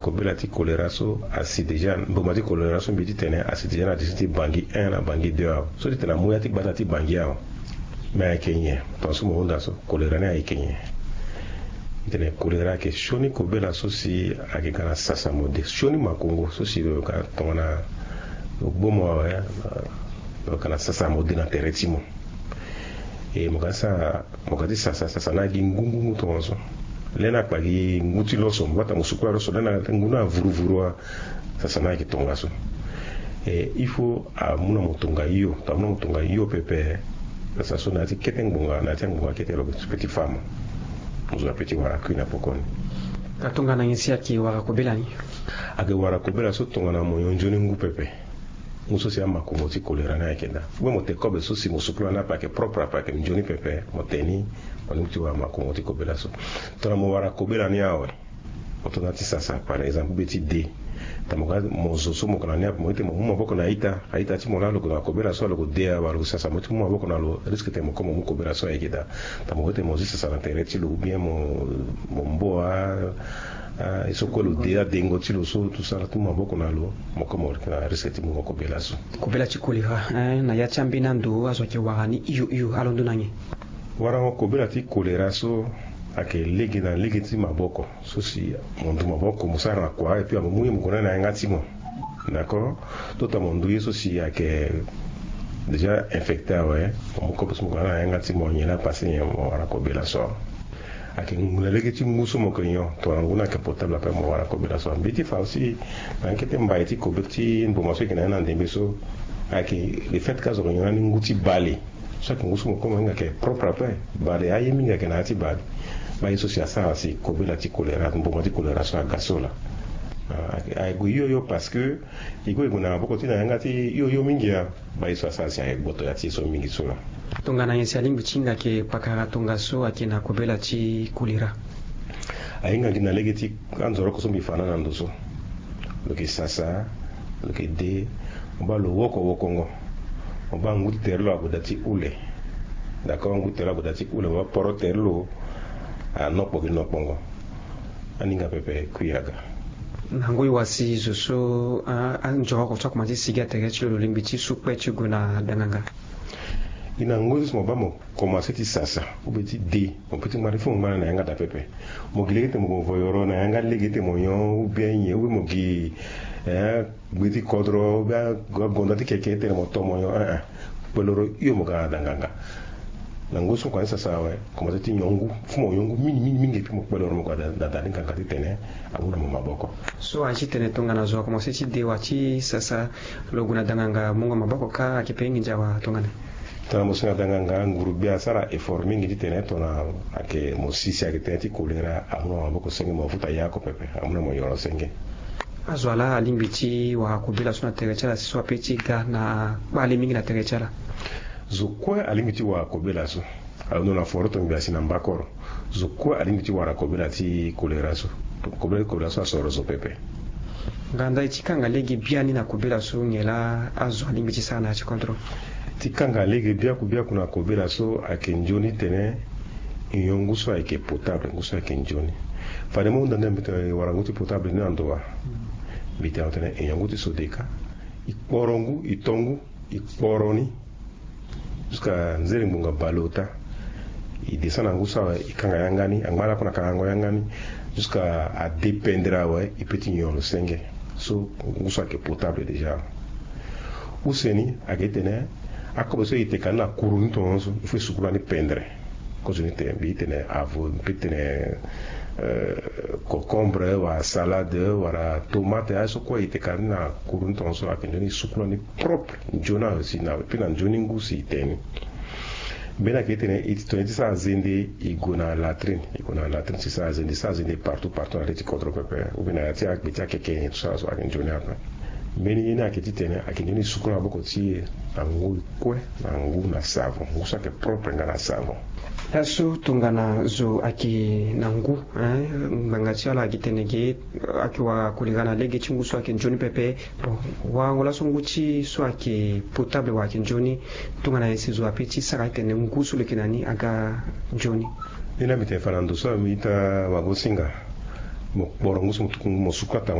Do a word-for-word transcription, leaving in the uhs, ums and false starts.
Kobela ti kolera so asi déjà, mboma ti kolera so mbi ti tene asi déjà na disi ti bangi un na bangi deux awe. So ti tene amu ya ti gbata ti bangi awe, me ayeke nyen? Tongaso mo hunda so kolera ni ayeke nyen? Ti tene kolera ayeke sioni kobela so si ayeke ga na sasa mo de, sioni makongo so si lo yeke tongana lo gbo mo awe, lo yeke na sasa mo de na tere ti mo. E mo ga sa mo ga ti sasa sasa na gi ngu ngu ngu tongaso. Lê na kpa gi ngu ti lo so mo bata mo sukula lo so lê na ngu na vuru vuru wa. Sasa na ayeke tongaso. E il faut amu na mo tonga hio, to amu na mo tonga hio pepe. Sasa so na ya ti kete ngbonga, na ya ti angbonga kete lo yeke ti fa mo. Mo zo ape ti wara kui na pokoni. Ka tongana nyen si ayeke wara kobela ni? Ayeke wara kobela so tongana mo nyon nzoni ngu pepe. Ngu so si amakongo ti kolera ni ayeke daa. Mo te kobe so si mo sukula ni ape ayeke propre ape ayeke nzoni pepe, mo te ni. Mo lingbi ti wara makongo ti kobela so. Tongana mo wara kobela ni awe, mo to na ti sasa par exemple be ti de. Tongana mo ga mo zo so mo yeke na ni ape mo ete mo mu maboko na a-ita, a-ita ti mo laa lo gue na kobela so lo gue de awe lo gue sasa mo ti mu maboko na lo, risque tene mo kue mo mu kobela so ayeke daa. Tongana mo gue ete mo zi sasa na tere ti lo ou bien mo mboa, ah, ye so kue lo de adengo ti lo so tout ça ti mu maboko na lo, mo kue mo yeke na risque ti mungo kobela so. Kobela ti kolera, eh, na ya ti ambeni ando azo ayeke wara ni hio hio alondo na nyen? Warango kobela ti kolera so ayeke lege na lege ti maboko so si mo ndu maboko mo sara na kua et puis amu ye mo gue na ni na yanga ti mo. D'accord. Tota mo ndu ye so si ayeke déjà infecté awe, mo mu kobe so mo gue na ni na yanga ti mo nyen laa pase nyen mo wara kobela so. Ayeke ngu na lege ti ngu so mo yeke nyon tongana ngu ni ayeke potable ape mo wara kobela so. Mbi ye ti fa aussi na ya kete mbai ti kobela ti mboma so e yeke na ya na ndembe so ayeke le fait ka zo yeke nyon na ni ngu ti bale. So ayeke ngu so mo kue mo hinga ayeke propre ape. Bale aye mingi ayeke na ya ti bale. Baa ye so si asara si kobela ti kolera mboma ti kolera so aga so laa. Ayeke gue hio hio parce que e gue e gue na maboko ti na yanga ti hio hio mingi ya. Baa ye so asara si ayeke gboto ya ti ye so mingi so laa. Tongana nyen si alingbi ti hinga ayeke pakara tongaso ayeke na kobela ti kolera? Ahinga gi na lege ti anzoroko so mbi fa na na ndo so. Lo yeke sasa, lo yeke de. Mo baa lo woko wokongo. Mo baa ngu ti tere lo ague daa ti hule. D'accord, ngu ti tere lo ague daa ti hule mo baa poro tere lo anokpo gi nokpongo. Aninga pepe kui aga. Na ngoi wa si zo so anzoroko so akomanse ti sigi na tere ti lo, lo lingbi ti su kpe ti gue na danganga? Gi na ngoi so si mo baa mo komanse ti sasa ou bien ti de, mo pe ti ngba ni fo mo ngba na yanga daa pepe. Mo gi lege ti tene mo gue voyoro na yanga lege ti tene mo nyon ou bien nyen ou bien mo gi gbe ti kodro ou bien agonda ti keke ti tene mo to mo nyon, eh eh. Kpeloro hio mo ga na danganga. Na ngoi so mo komanse ti sasa awe, komanse ti nyon ngu. Fo mo nyon ngu mingi mingi mingi et puis mo kpeloro mo ga na da ni nganga ti tene amu na mo maboko. So aye ti tene tongana zo akomanse ti de wa ti sasa, lo gue na danganga mungo maboko ka ayeke pe nginza wa tongana? Tongana mo si na danganga nguru gbia asara effort mingi ti tene tongana ayeke mo si si ayeke tënë ti kolera amu na mo maboko senge mo futa ya oko pepe amu na mo nyoro senge. Azo wa laa alingbi ti wara kobela so na tere ti ala si so ape ti ga na kpale mingi na tere ti ala? Zo kue alingbi ti wara kobela so. Alondo na foro tongbi asi na mbakoro. Zo kue alingbi ti wara kobela ti kolera so. Kobela ti kolera so asoro zo pepe. Nga ndali ti kanga lege biani na kobela so nyen laa azo alingbi ti sara na ya ti kodro? Ti kanga lege biaku biaku na kobela so ayeke nzoni tene e nyon ngu so ayeke potable, ngu so ayeke nzoni. Fade mo hunda nde mbi tene e wara ngu ti potable ni na ndo wa. Mbi tene atene e nyon ngu ti sodeka. E kporo ngu, e to ngu, e kporo ni. Jusqu'à nzere ngbonga baleota. E descend na ngu so awe e kanga yanga ni, angba lakue na kangango yanga ni. Jusqu'à adependre awe e pe ti nyon lo senge. So ngu so ayeke potable déjà. Use ni ayeke ti tene akobe so e teka ni na kuru ni tongaso il faut e sukula ni pendre. Kozo ni tene mbi ti tene avo mbi ti tene, euh, concombre wala salade wala tomate aye so kue e teka ni na kuru ni tongaso ayeke nzoni e sukula ni propre. Nzoni awe si na pe na nzoni ngu si e tene ni. Mbeni ayeke ti tene e ti tongana e ti sara zende e gue na latrine, e gue na latrine si sara zende, sara zende partout partout na le ti kodro pepe ou bien na ya ti agbe ti akeke nyen ti sara so ayeke nzoni ape. Mbeni ye ni ayeke ti tene ayeke nzoni e sukula maboko ti e na ngoi kue na ngu na savon, ngu so ayeke propre nga na savon. Laso tongana zo ayeke na ngu, eh, ngbanga ti ala ayeke tene ge ayeke wara kolera na lege ti ngu so ayeke nzoni pepe. Bon, warango laso ngu ti so ayeke potable wala ayeke nzoni, tongana nyen si zo ape ti sara ti tene ngu so lo yeke na ni aga nzoni? Ni laa mbi tene fa na ndo so mbi ita wagosinga. Mo kporo ngu so mo tuku ngu mo suku ata.